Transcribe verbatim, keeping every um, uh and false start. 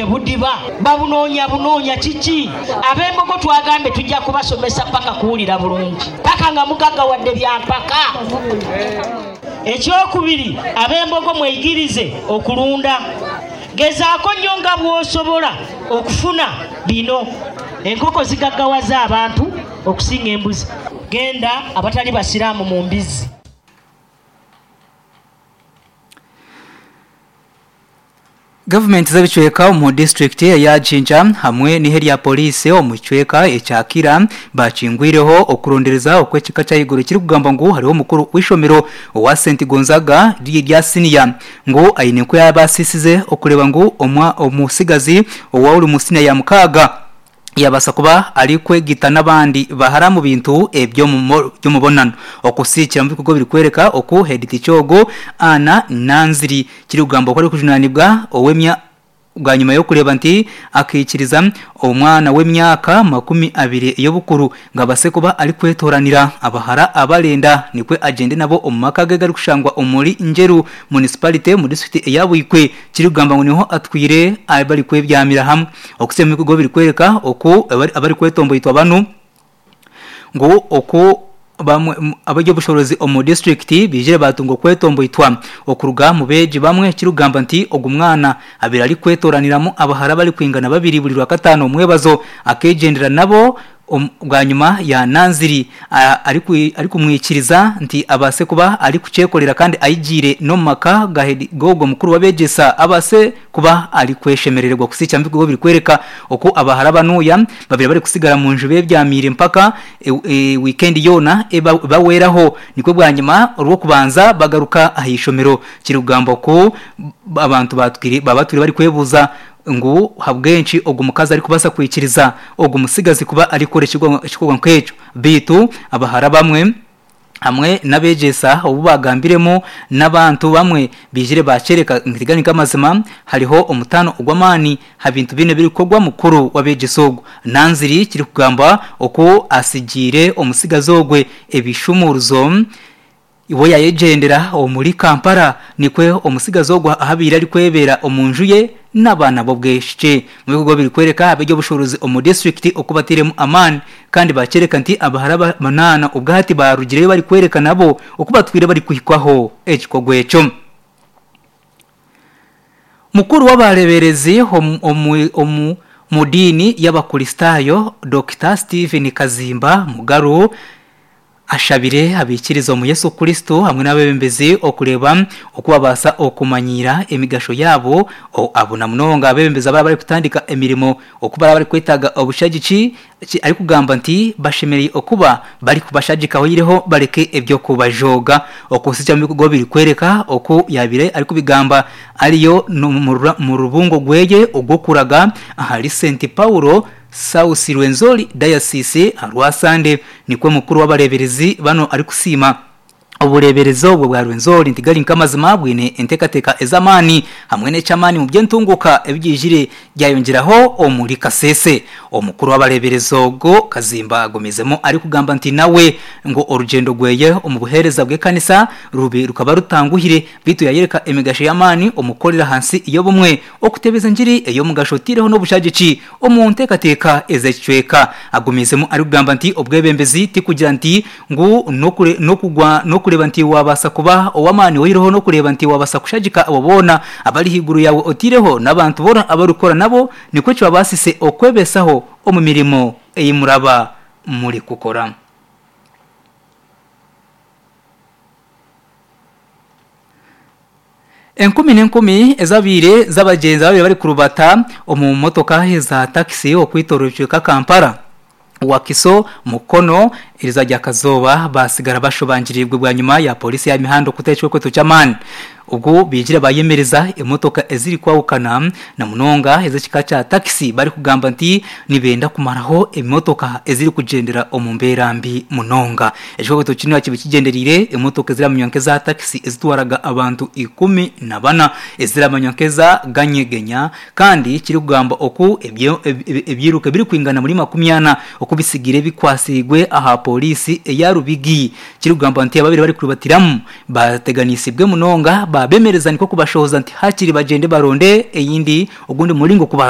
Budiba babunoonya bunoonya kiki? Ab'embogo twagambe tujja kubasomesa paka kuwulira bulungi, paka nga mugaggawadde byampaka. Ekyokubiri, ab'embogo mweyigirize okulunda. Gezaako nnyo nga bw'osobola okufuna bino. Enkoko zigaggawaza abantu okusinga embuzi. Genda abatali basiraamu mu mbizzi. Gavumenti z'ebicweka omu disitulikiti eya Jinja hamwe n'ihe rya poliisi omu kicweka ekya Kira bakingwireho okurondereza okw'ekika kya iguru kirikugamba ngu hariho omukuru w'eishomero owa St Gonzaga rya siniya ngu aine nku yabaasisize okureba ngu omutsigazi owa ori omu siniya ya mukaaga yabaasa kuba arikwegita n'abandi bahara omu bintu eby'omubonano. Okusiikira omu bikorwa birikworeka oku headteacher ogu Anna Nanziri kirikugamba oku arikujunaanibwa ow'emya bwanyima y'okureeba nti akaikiriza omwana w'emyaka makumi abiri ey'obukuru ngu abaase kuba arikwetoranira abahara abarenda nikwo agyende nabo omu maka ge garikushangwa omuri Njeru Municipality omu disiturikiti eya Buikwe kirikugamba ngu niho atwire barikwebyamira hamwe. Okusiima omu bikorwa birikworeka oku abarikwetomboitwa banu ngu oku bamwe abeby'obushoborozi omu disiturikiti baijire batunga okwetomboitwa okuruga omu beegi bamwe kirikugamba nti ogu mwana abaire arikwetoraniramu abahara barikwingana babiri buri rwakataano omwebazo akeegyendera nabo bwanyima ya Nanziri arikumwikiriza nti abaase kuba arikukyekorera kandi ayigiire n'omu maka g'ogwo mukuru w'abeegyesa abaase kuba arikweshemerererwa. Kusiikira omu bikorwa birikworeka oku abahara banuya babaire barikusigara omu nju bebyamiire mpaka wiikendi yoona ebahweraho nikwo bwanyima orw'okubanza bagaruka aha ishomero kirikugamba oku abantu baba batwire barikwebuuza ngu ahabw'enki ogu mukazi arikubaasa kwikiriza ogu mutsigazi kuba arikukora ekikorwa nk'ekyo. Beitu abahara bamwe hamwe n'abeegyesa obu bagambiremu n'abantu bamwe baijire bakyereka ngu gari nk'amazima hariho omutaano ogw'amaani aha bintu bina ebirikukorwa mukuru w'abeegyesa ogu. Nanziri kirikugamba oku atsigiire omutsigazi ogwe ebishumuruzo we yayegyendera omuri Kampala nikwo omutsigazi ogwo ahabaire arikwebeera omu nju ye n'abaana b'obwishiki. Omu bikorwa birikworeka abeby'obushuubuzi omu disiturikiti oku batairemu amaani kandi bakyereka nti abahara munaana obwahati barugireyo barikworeka nabo oku batwire barikuhikwaho ekikorwa ekyo. Mukuru w'abareeberezi omu omu diini y'Abakristaayo Dokita Stephen Kazimba Mugaru ashabire abaikiriza omu Yesu Kristo hamwe n'abeebembezi okureeba oku babaasa okumanyiira emigasho yaabo abo na munonga abeebembezi abaraba barikutandika emirimo oku baraba barikwetaaga obushagiki arikugamba nti bashemereire okuba barikubashagika oihireho bareke eby'okubajooga. Okusiikira omu bikorwa birikworeka oku yaabaire arikubigamba ariyo omu rubungo rweye orw'okuraga ahari St Paulo South Rwenzori Diocese aha Rwasande nikwo mukuru w'abareeberezi banu arikusiima obureeberezi obwo bwa Rwenzori nti gari nk'amazima bwine enteekateeka ez'amaani hamwe n'eky'amaani omu by'entunguka ebigyijire byayongyeraho omuri Kasese. Omukuru w'abareeberezi ogwo Kazimba agumizemu arikugamba nti nawe ngu orugyendo rweye omu buheereza bw'ekanisa rubi rukaba rutanguhire beitu yayereka emigasho y'amaani omu kukorera ahansi y'obumwe okutebeza engiri ey'omugasho otaireho n'obushagiki omu nteekateeka ez'ekicweka. Agumizemu arikugamba nti obwebembezi tikugira nti ngu n'okugwa n'okureeba nti wabaasa kuba ow'amaani oihireho n'okureeba nti wabaasa kushagika abo boona abari ahaiguru yaawe otaireho n'abantu boona abarikukora nabo nikwo kibabaasise okwebeesaho omu mirimo ei muraba murikukora. Enkumi n'enkumi ezabaire z'abagyenzi ababaire barikurubata omu motoka eza takisi okwetooroora ekicweka Kampala, Wakiso, Mukono erizooba rya Kazooba basigara bashobangiriirwe bwanyima ya pooriisi ya mihanda okuta ekikwekweto ky'amaani. Obwo baijire bayemereza emotoka ezirikwahukana na munonga ez'ekika kya takisi barikugamba nti nibenda kumaraho emotoka ezirikugyendera omu mbeera mbi munonga. Ekikwekweto kinu kiba kigyendereire emotoka eziramanywa nk'eza takisi ezitwaraga abantu ikumi na bana eziramanywa nk'eza ganyegenya kandi kirikugamba oku ebyiruka ebirikwingana muri makumi ana oku bisigire bikwasiibwe aha pooriisi eya Rubigi. Kirikugamba nti ababaire barikurubatiramu bateganisibwe munonga babemereza nikwo kubashohoza nti hakiri bagyende baronde eyindi ogundi muringo kubara